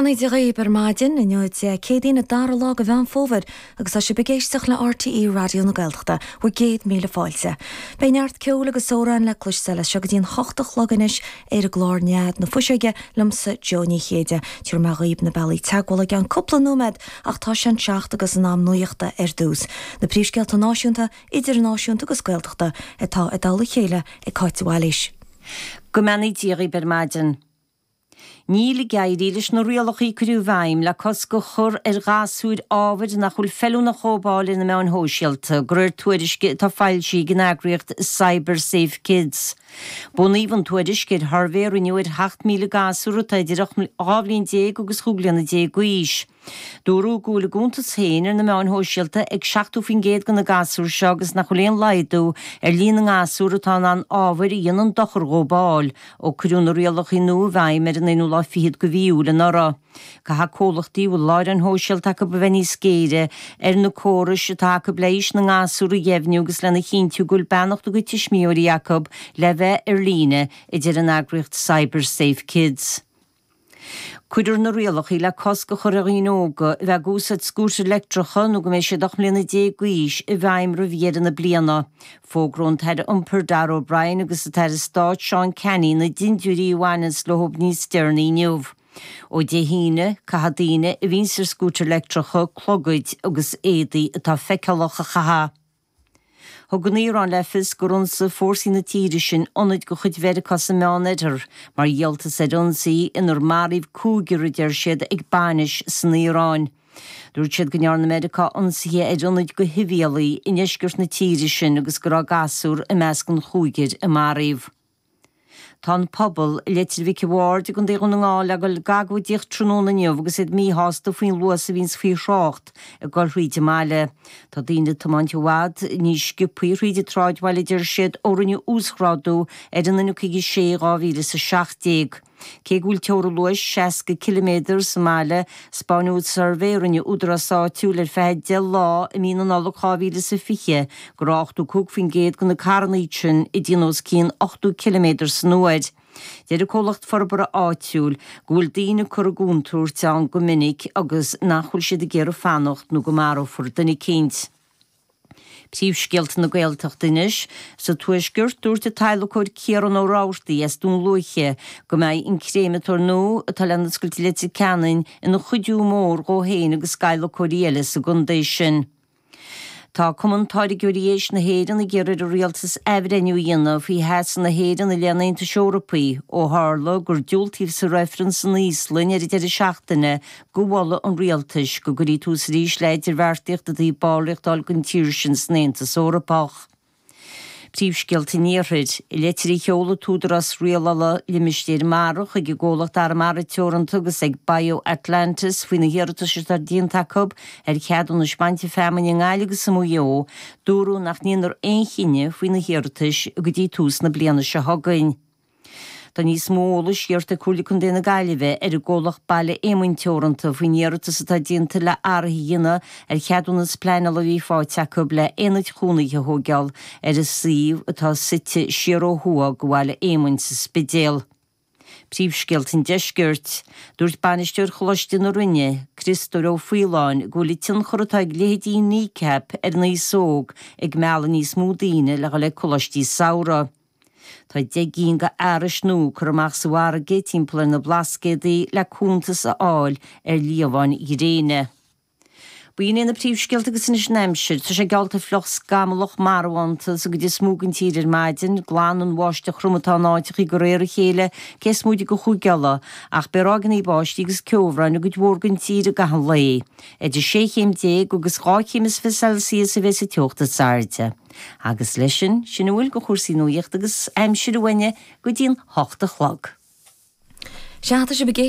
beannaí Dé dhaoib ar maidin, inniu Dé Céadaoin an dara lá de Mheán Fómhair agus tá sibh ag éisteacht le RTÉ Raidió na Gaeltachta, bhur gcéad míle fáilte. Beidh neart ceoil agus amhráin le cloisteáil as seo go dtí an hocht a chlog anois ar an gclár Nead na Fuiseoige liomsa Joe Ní Chéide. Tabharfaidh mé dhaoib na bealaí teagmhála i gceann cúpla nóiméad ach tá sé an seacht agus in am nuachta ar dtús. Na príomhscéalta náisiúnta, idirnáisiúnta agus Gaeltachta atá i dtoll a chéile ag Cáit de Bhailís. Go mbeannaí Dia dhaoib ar maidin. Níl ag éirí leis na rialacha a cuireadh i bhfeidhm le cosc a chur ar ghasúir ábhair nach bhfuil feiliúnach a dhóbáil ar na meáin shóisialta, de réir tuairisce atá foilsithe ag an eagraíocht CyberSafeKids. Bunaíodh an tuairisc ar shuirbhé a rinneadh ar 7,000 gasúr atá idir 12 bhliain agus 15 bliana d'aois. Dúradh go bhfuil a gcuntas féin ar na meáin shóisialta ag 70% de na gasúir seo agus nach bhfuil aon laghdú ar líon na ngasúr atá in ann ábhair a dhéanann dochar a dhóbáil ó cuireadh na rialacha nua i bhfeidhm ar an aonú lá fichead de mhí Iúil anuraidh. Caithfidh comhlachtaí a bhfuil láithreáin shóisialta acu a bheith níos géire ar na córais atá acu le haois na ngasúr a dheimhniú agus lena chinntiú go bhfuil beannacht a gcuid tuismitheoirí acu le bheith ar líne, a deir an eagraíocht CyberSafeKids. Cuirfear na rialacha le cosc a chur ar dhaoine óga a bheith ag úsáid scútair leictreacha nó go mbeidh siad 18 mbliana d'aois i bhfeidhm roimh dheireadh na bliana. Fógróidh an tAire Iompair Darragh O'Brien agus an tAire Stáit Seán Canney na dintiúirí a bhaineanns leo níos deireanaí inniu. Ó Dé hAoine, caithfidh daoine a bhíonns ar scútair leictreacha clogaid agus éadaí atá feiceálach a chaitheamh. Thug an Iaráin le fios gur ionsaigh fórsaí na tíre sin ionaid de chuid Mheiriceá sa Meánoirthear mar dhíoltas ar ionsaí inar maraíodh cúigear, a deir siad, ag bainis san Iaráin. Dúirt siad go ndearna Meiriceá ionsaithe ar ionaid do shibhialaigh i ndeisceart na tíre sin agus go raibh gasúr i measc an chúigir a maraíodh. Tá an pobal i Leitir Mhic a' Bhaird i gContae Dhún na nGall le dul ag agóidíocht tráthnóna inniu agus iad míshásta faoin luas a bhíonns faoi thrácht ag dul thríd an mbaile. Tá daoine ag tiomáint i bhfad níos sciobthaí thríd an tsráidbhaile a deir siad ó rinneadh uasghrádú ar an N56 i 2017. Cé go bhfuil teorainn luais 60 ciliméadar sa mbaile, 'spáineadh suirbhé a rinne údarás áitiúil ar feadh 10 lá i mí na Nollag 2020 go raibh 85% de na carrannaí sin ag déanamh os cionn 80 ciliméadar san uair. Deir an comhlacht forbartha áitiúil go bhfuil daoine curtha i gcontúirt ann go minic agus nach bhfuil siad ag iarraidh fanacht nó go marófar duine eicínt. Príomhscéalta na Gaeltachta anois. Sa Tuaisceart, dúirt an t-adhlacóir Ciarán Ó Rabhartaigh as Dún Lúiche go mbeidh an créamatóir nua atá le n-oscailt i Leitir Ceanainn ina chuidiú mór dhó féin agus d'adhlacóirí eile sa gcontae sin. Tá Cumann Táirgeoirí Éisc na hÉireann ag iarraidh ar an Rialtas athbhreithniú a dhéanamh faoi sheasamh na hÉireann i leith an Aontais Eorpaigh ó tharla gur diúltaíodh sa reifreann san Íoslainn ar an deireadh seachtaine do mholadh an rialtais go gcuirfí tús arís le hidirbheartaíocht i dtaobh ballraíocht a fháil don tír sin san Aontas Eorpach. Príomhscéalta an Iarthair. I litir a sheol an tÚdarás Rialála Limistéir Mara chuig an gcomhlacht Arramara Teoranta agus ag BioAtlantis faoi na hiarratais atá déanta acu ar cheadúnais bainte feamainne i nGaillimh agus i Maigh Eo, dúradh nach ndéanfar aon chinneadh faoi na hiarratais go dtí tús na bliana seo chugainn. Tá níos mó eolais iarrta ag Comhairle Contae na Gaillimhe ar an gcomhlacht Baile Éamoinn Teoranta faoin iarratas atá déanta le athruithe a dhéanamh ar cheadúnas pleanála a bhí faighte acu le aonaid chónaithe a thóigeáil ar an suíomh atá suite siar ó thuaidh de Bhaile Éamoinn sa Spidéal. Príomhscéalta an Deiscirt. Dúirt bainisteoir Choláiste na Rinne, Criostóir Ó Faoláin, go bhfuil an tionchar atá ag leithéidí Kneecap ar an aos óg ag mealladh níos mó daoine le dhul ag coláistí samhraidh. Tá 10 gcinn de fhearais nua curtha amach sa bhfarraige timpeall ar na Blascaodaí le cuntas a fháil ar liamháin ghréine. B'in iad na príomhscéalta agus anois an aimsir. Tá sé geallta fliuch scamallach marbhánta sa gcuid is mó den tír ar maidin. Glan an bháisteach throm atá in áiteachaí de réir a chéile cé is móide de Chúige Uladh, ach beidh ráigeanna báistí agus ceobhráin i gcuid mhór den tír i gcaitheamh an lae. Idir 16 chéim agus 2 chéim is 20 Celsius a bheidh sa teocht is airde. Agus leis sin, sin a bhfuil de chúrsaí nuaíochta agus aimsire uainne go dtí'n hocht a chlog. Sea, tá sibh ag.